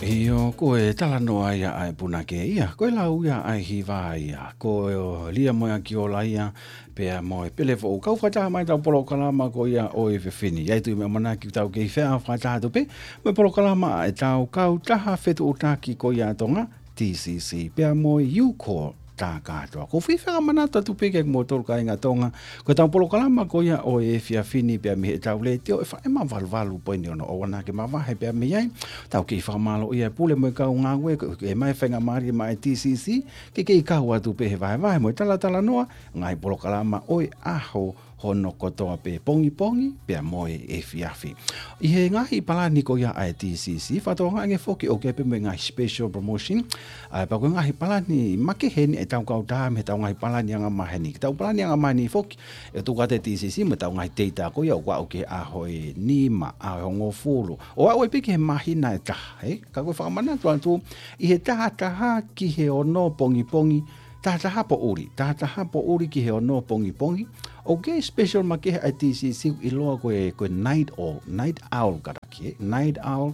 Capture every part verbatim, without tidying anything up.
ʻIo, ko e talanoa ia ʻa e punake ia, ko e lau ia ʻa e hiva ia, ko Lia mo e Akiola ia, pea mo e Pele Foʻou. Kau fakataha mai ʻetau polokalama ko ia ʻo e efiafi ni. ʻIo, ʻoku ou tui ʻoku mou manatu ʻoku tau kei feʻaofaʻataha atu pē mo e polokalama ʻa ʻetau kautaha fetuʻutaki ko ia ʻa Tonga, T C C, pea mo e U-Call tā kātoa. ʻOku ou fie fakamanatu atu pē kiate kimoutolu kāinga Tonga, ko ʻetau polokalama ko ia ʻo e efiafi ni pea mei heʻetau letiō F M valu valu poini ono, ʻoua naʻa ke mavahe pē mei ai. Tau kei fakamālō ʻia Pule mo e kau ngāue, ko e ʻomai faingamālie maʻa e T C C ke kei kau atu pē he vahevahe mo e talatalanoa ngaahi polokalama ʻo e ʻaho hono kotoa pē, pongipongi pea mo e efiafi. ʻI he ngaahi palani ko ia ʻa e T C C, fakatokangaʻi ange foki ʻoku ʻi ai pē mo e ngaahi special promotion, ʻa, pea ko e ngaahi palani makehe eni ʻetau kautaha mei heʻetau ngaahi palani angamaheni. Ko ʻetau palani angamaheni foki ʻe tuku atu ʻe he T C C mo ʻetau ngaahi teita ko ia ʻoku aʻu ki he ʻaho ʻe nima, ʻaho ʻe hongofulu, ʻo aʻu ai pē ki he māhina ʻe taha, ē? Ka ko e fakamanatu atu, ʻi he taha taha ki he ono pongipongi, taha taha poʻuli, taha taha poʻuli ki he ono pongipongi, ʻoku ʻi ai e special makehe ʻa e T C C ʻiloa ko e, ko e night owl, night owl kātaki, ē? Night owl.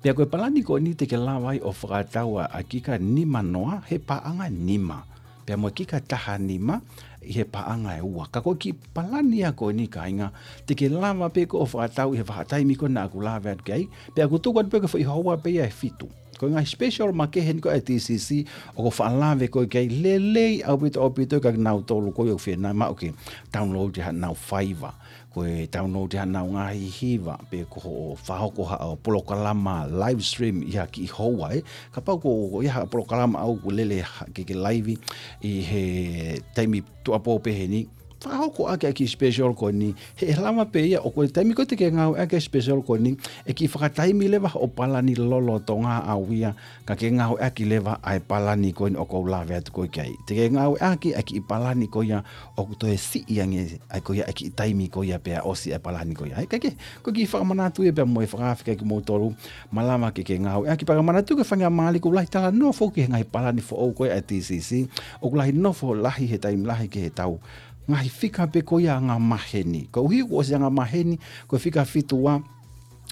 Pea ko e palani ko eni te ke lava ai ʻo fakatau ʻa e ʻakika nima noa he paʻanga ʻe nima, pea mo e ʻakika taha nima ʻi he paʻanga ʻe ua. Ka ko e kiʻi palani ia ko eni kāinga, te ke lava pē koe ʻo fakatau ʻi he vahaʻa taimi ko ē naʻa ku lave atu ki ai, pea ʻoku tuku atu pē ko e foʻi houa pē ia ʻe fitu. Ko e ngaahi special makehe eni ko ē ʻa e T C C ʻoku ou faʻa lave ko ē ki ai, lelei ʻaupito ʻaupito kiate kinautolu ko ē ʻoku fie nau maʻu ke download ʻi haʻanau faiva, ko e download ʻi haʻanau ngaahi hiva, pe ko hoʻo fakahoko haʻo polokalama live stream ʻi ha kiʻi houa, ē? Kapau ko, ko ʻi ai ha polokalama ʻoku lele ha, ke, ke live ʻi he taimi tuʻuapō pē heni, fakahoko ʻaki ʻa e kiʻi special ko eni, he ʻe lava pē ia ʻo ko e taimi ko ē te ke ngāueʻaki e special ko eni, ʻe kiʻi fakataimi leva hoʻo palani lolotonga ʻaʻau ia, kae ke ngāueʻaki leva ʻa e palani ko eni ʻoku ou lave atu ko ē ki ai. Te ke ngāueʻaki ʻa e kiʻi palani ko ia ʻoku toe siʻi ange ai ko ia ʻa e kiʻi taimi ko ia pea ʻosi ʻa e palani ko ia. Ē, kae kehe, ko e kiʻi fakamanatu ia pea mo e fakaafe kiate kimoutolu, malava ke ke ngāueʻaki. Pea ka manatu ki he faingamālie, ʻoku lahi talanoa foki he ngaahi palani foʻou ko ē ʻa e T C C, ʻoku lahi nofo lahi he taimi lahi ki heʻetau ngaahi fika pē ko ia angamaheni. Koeʻuhi kuo ʻosi angamaheni, ko e fika fitu ua,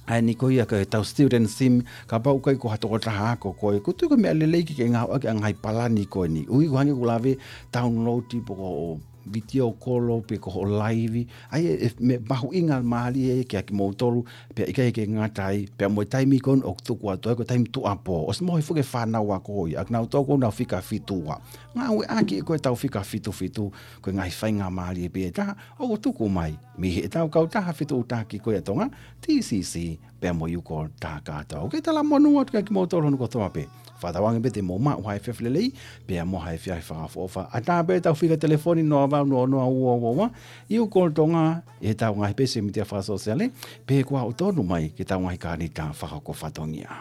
ʻa eni ko ia ko ʻetau student SIM, kapau ʻoku ʻikai ko ha tokotaha ako koe, ʻoku ou tui ko e meʻa lelei ke ke ngāueʻaki ʻa e ngaahi palani ko eni. ʻUhi ʻoku hangē ʻoku lave download pe ko e video call pe ko hoʻo live, ʻa ia ʻe meʻa mahuʻinga mālie kiate kimoutolu, pea ʻikai ke ngata ai, pea mo e taimi ko eni ʻoku tuku atu ai ko e taimi tuʻuapō. ʻOsi mohe foki e fānau ako ia, ʻa kinautolu ko ē ʻoku nau fika fitu ua. Ngāueʻaki ko ē ʻetau fika fitu fitu, ko e ngaahi faingamālie pē ʻe taha ʻoku tuku mai mei heʻetau kautaha fetuʻutaki ko ia ʻa Tonga, T C C, pea mo e U-Call tā kātoa. ʻOku kei talamonū atu kiate kimoutolu hono kotoa pē. Fakatauange pē te mou maʻu ha efiafi lelei pea mo ha efiafi fakaʻofoʻofa. ʻAtā pē ʻetau fika telefoni, noa valu noa noa ua ua ua, U-Call Tonga, ʻi heʻetau ngaahi peesi mītia fakasōsiale, pe ko hoʻo tonu mai ki heʻetau ngaahi kānita fakahoko fatongia.